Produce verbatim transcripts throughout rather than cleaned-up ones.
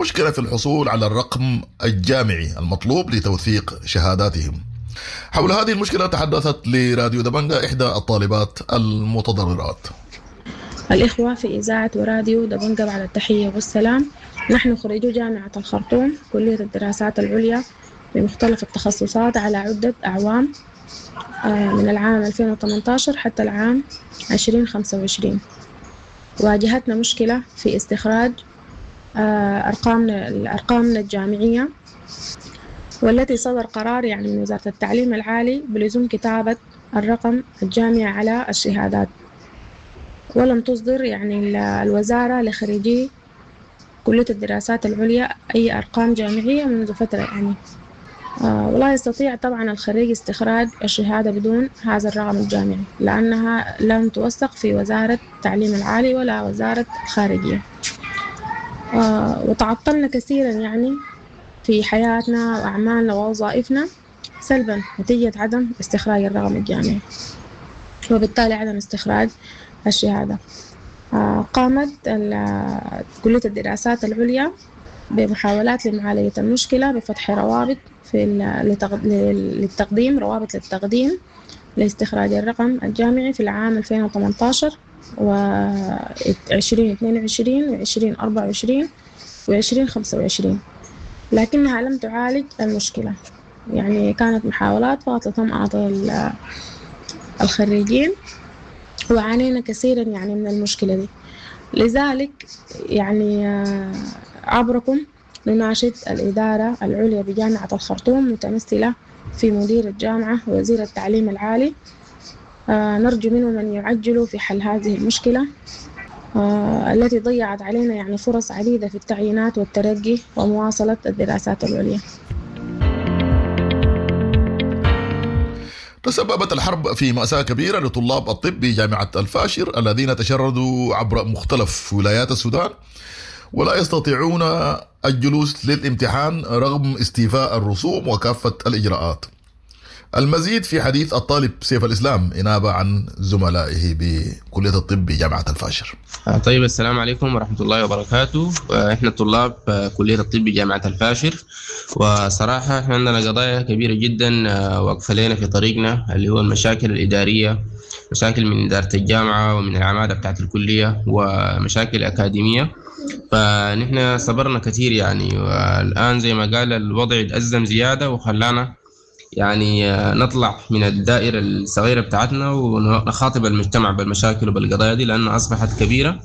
مشكلة في الحصول على الرقم الجامعي المطلوب لتوثيق شهاداتهم. حول هذه المشكلة تحدثت لراديو دبنجا إحدى الطالبات المتضررات. الإخوة في إذاعة وراديو دبنجا بعد التحية والسلام، نحن خريجو جامعة الخرطوم كلية الدراسات العليا بمختلف التخصصات على عدة أعوام، آه، من العام ألفين وثمانتاشر حتى العام عشرين خمسة وعشرين. واجهتنا مشكلة في استخراج، آه، أرقامنا، أرقامنا الجامعية، والتي صدر قرار يعني من وزارة التعليم العالي بلزوم كتابة الرقم الجامعي على الشهادات، ولم تصدر يعني ال-، الوزارة لخريجي كلية الدراسات العليا أي أرقام جامعية منذ فترة يعني. آه، ولا يستطيع طبعا الخريج استخراج الشهادة بدون هذا الرقم الجامعي، لأنها لم توثق في وزارة التعليم العالي ولا وزارة الخارجية. آه، وتعطلنا كثيرا يعني في حياتنا وأعمالنا ووظائفنا سلبا نتيجة عدم استخراج الرقم الجامعي، وبالتالي عدم استخراج الشهادة. آه، قامت ال-، كلية الدراسات العليا بمحاولات لمعالجة المشكلة بفتح روابط في ال-، لتغ-، للتقديم، روابط للتقديم لاستخراج الرقم الجامعي في العام ألفين وثمانتاشر و عشرين اثنين وعشرين وعشرين أربعة وعشرين وعشرين خمسة وعشرين، لكنها لم تعالج المشكلة. يعني كانت محاولات فقط لطمأنة ال-، الخريجين، وعانينا كثيرا يعني من المشكلة دي. لذلك يعني، آه، عبركم نناشد الإدارة العليا بجامعة الخرطوم متمثلة في مدير الجامعة ووزير التعليم العالي، آه، نرجو منهم أن يعجلوا في حل هذه المشكلة، آه، التي ضيعت علينا يعني فرص عديدة في التعيينات والترقي ومواصلة الدراسات العليا. تسببت الحرب في مأساة كبيرة لطلاب الطب بجامعة الفاشر الذين تشردوا عبر مختلف ولايات السودان ولا يستطيعون الجلوس للامتحان رغم استيفاء الرسوم وكافة الإجراءات. المزيد في حديث الطالب سيف الإسلام إنابة عن زملائه بكلية الطب بجامعة الفاشر. طيب، السلام عليكم ورحمة الله وبركاته. إحنا طلاب كلية الطب بجامعة الفاشر، وصراحة إحنا عندنا قضايا كبيرة جدا واقفة لنا في طريقنا، اللي هو المشاكل الإدارية، مشاكل من إدارة الجامعة ومن العمادة بتاعت الكلية ومشاكل أكاديمية. فنحن صبرنا كثير يعني، والآن زي ما قال الوضع اتأزم زيادة وخلانا يعني نطلع من الدائرة الصغيرة بتاعتنا ونخاطب المجتمع بالمشاكل وبالقضايا دي، لأنها أصبحت كبيرة،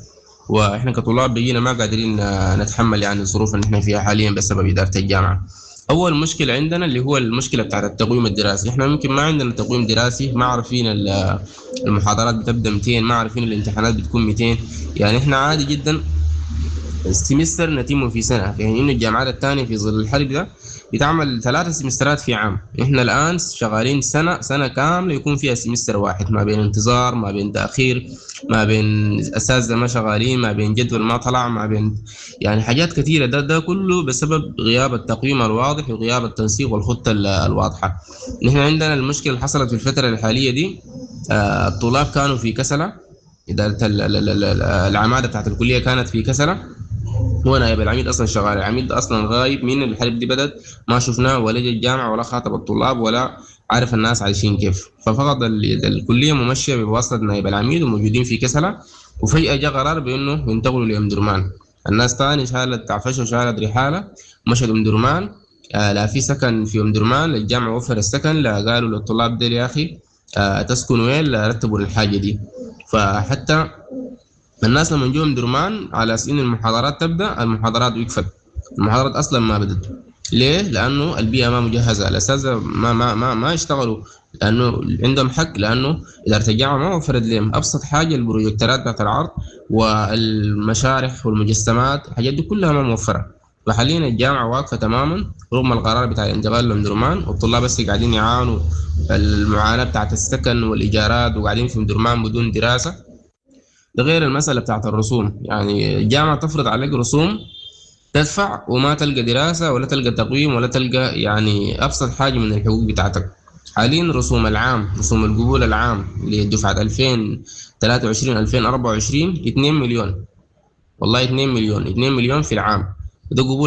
وإحنا كطلاب بقينا ما قادرين نتحمل يعني الظروف اللي إحنا فيها حاليا بسبب إدارة الجامعة. أول مشكلة عندنا اللي هو المشكلة بتاعت التقويم الدراسي. إحنا ممكن ما عندنا تقويم دراسي، ما عارفين ال-، المحاضرات بتبدأ مئتين، ما عارفين الامتحانات بتكون مئتين. يعني إحنا عادي جدا السمستر نتمه في سنة، يعني إنه الجامعات الثانية في ظل الحرب ده بتعمل ثلاثة سمسترات في عام. إحنا الآن شغالين سنة، سنة كاملة يكون فيها سمستر واحد، ما بين انتظار، ما بين تأخير، ما بين أساتذة ما شغالين، ما بين جدول ما طلع، ما بين يعني حاجات كثيرة. ده، ده كله بسبب غياب التقويم الواضح وغياب التنسيق والخطة ال-، الواضحة. نحن عندنا المشكلة اللي حصلت في الفترة الحالية دي، آه، الطلاب كانوا في كسلة، إدارة ال-، ال-، ال-، ال-، العمادة بتاعت الكلية كانت في كسلة، هو نائب العميد أصلاً شغال، العميد أصلاً غايب من الحرب دي بدت، ما شفناه ولا جا الجامعة ولا خاطب الطلاب ولا عارف الناس عايشين كيف. ففقط ال-، الكلية ممشية بواسطة نائب العميد وموجودين في كسلة، وفجأة جاء قرار بأنه ينتقلوا لأم درمان. الناس تاني شالت عفشة وشالت رحالة مشت أم درمان، آه، لا في سكن في أم درمان، الجامعة وفر السكن، لا قالوا للطلاب ديل يا أخي، آه، تسكن وين، لا رتبوا الحاجة دي. فحتى الناس لما جو أم درمان على أساس إن المحاضرات تبدأ، المحاضرات وقفت، المحاضرات أصلاً ما بدت. ليه؟ لأنه البيئة ما مجهزة، الأساتذة ما، ما، ما، ما اشتغلوا، لأنه عندهم حق، لأنه إدارة الجامعة ما وفرت لهم أبسط حاجة، البروجكترات بتاعت العرض والمشارح والمجسمات، الحاجات دي كلها ما موفرة. فحاليا الجامعة واقفة تماما رغم القرار بتاع الانتقال لأم درمان، والطلاب بس قاعدين يعانوا المعاناة بتاعت السكن والإيجارات وقاعدين في أم درمان بدون دراسة. ده غير المسألة بتاعت الرسوم، يعني الجامعة تفرض عليك رسوم تدفع وما تلقى دراسة ولا تلقى تقويم ولا تلقى يعني أبسط حاجة من الحقوق بتاعتك. حاليا رسوم العام، رسوم القبول العام لدفعة ألفين وثلاثة وعشرين ألفين وأربعة وعشرين اثنين مليون، والله اثنين مليون، اثنين مليون في العام، ده قبول